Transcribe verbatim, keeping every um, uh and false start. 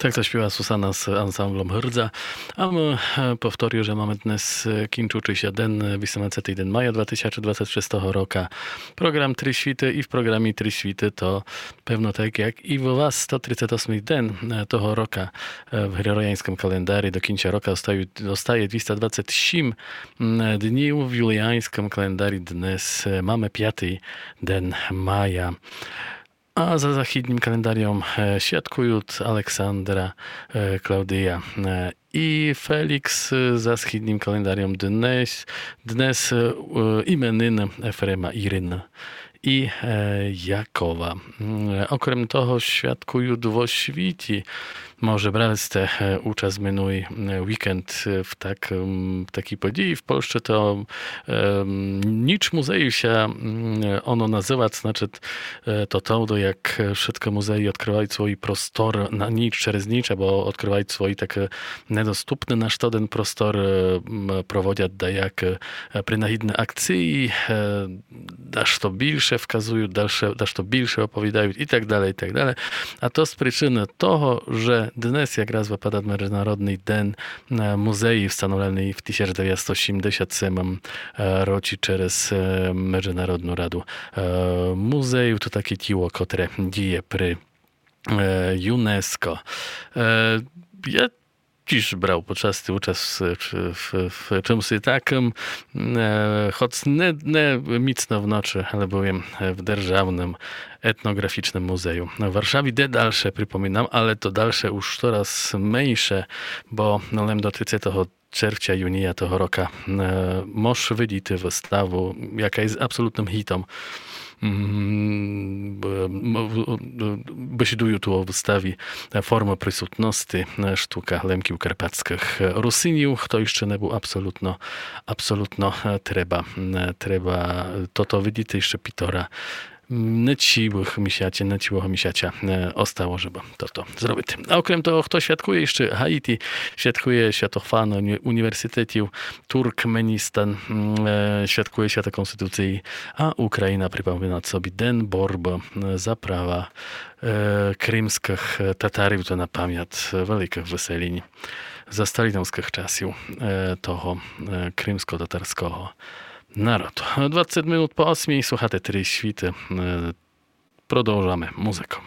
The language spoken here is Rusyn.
Так заспівала Сусана з ансамблом Гырдза. А мы, е, повторю, же маме днес, е, кінчучы ся ден, е, вісемнадцятый ден мая два тисячы двадцет шестого рока. Програм Три світы і в програмі Три світы то певно так, як і в вас сто тридцет осмый ден, е, того рока, е, в григоріяньскым календарі до кінця рока остають, остає двіста двадцет сім, м, днів, в юліяньскым календарі днес, е, маме пятый ден мая. А за західнім календарьом, е, святкуют Александра, е, Клаудія, е, і Фелікс, е, за східнім календарьом днес, днес, е, е, іменины Ефрема, Ірины і, е, Якова. М, е, окрем того, святкуют во світі. Може, брали сте, е, участ минулый, е, вікенд, е, в так, м, в такій події. В Польщі то, е, м, ніч музею ся, м, е, оно называт, значыт, е, то тогды, як, е, вшыткы музеї одкрывают свій простор на ніч через ніч, або одкрывают свій такый недоступный на штоден простор, е, м, проводят даяк, е, принагідны акциі, е, дашто більше вказуют, дальше, дашто більше оповідают і так далей, і так далей. А то з причыны того, же днес якраз выпадат Международный ден, е, музеї, встановленый в тисяч девятсто сімдесят семым, е, році через, е, Международну раду, е, музею. То таке тіло, котре діє при, е, ЮНЕСКО. Е, я тіж брав по части участ в, в, в, в чымси такым, е, хоц не, не міцно в ночы, але быв єм, е, в Державным етноґрафічным музею в Варшаві, де дальше, припомінам, але то дальше уж кораз менше, бо, но, лем до тридцятого червця, юнія того рока, е, мож видіти выставу, яка є абсолутным гітом. М, б-, м, в-, в-, бесідую ту о выставі, е, «Формы присутности», е, штука Лемків Карпатскых, е, Русинів. Хто іщы не быв, абсолутно, абсолутно, е, треба, е, треба тото видіти іщы пітора, м, нечівых місяці, нечівого місяця, е, остало, жебы тото зробити. А окрем того, хто святкує іщы Гаїті, святкує свято Фан уні-, універсітетів Туркменістан, м, е, святкує свято Конституциі, а Україна припомина собі Ден борбы, е, за права, е, кримскых, е, Татарів, то на памят, е, великых выселінь за сталінівскых часів, е, того, е, кримско-татарского народу. Двадцет минут по осмій, слухате Три світы, е, продовжаме музыку.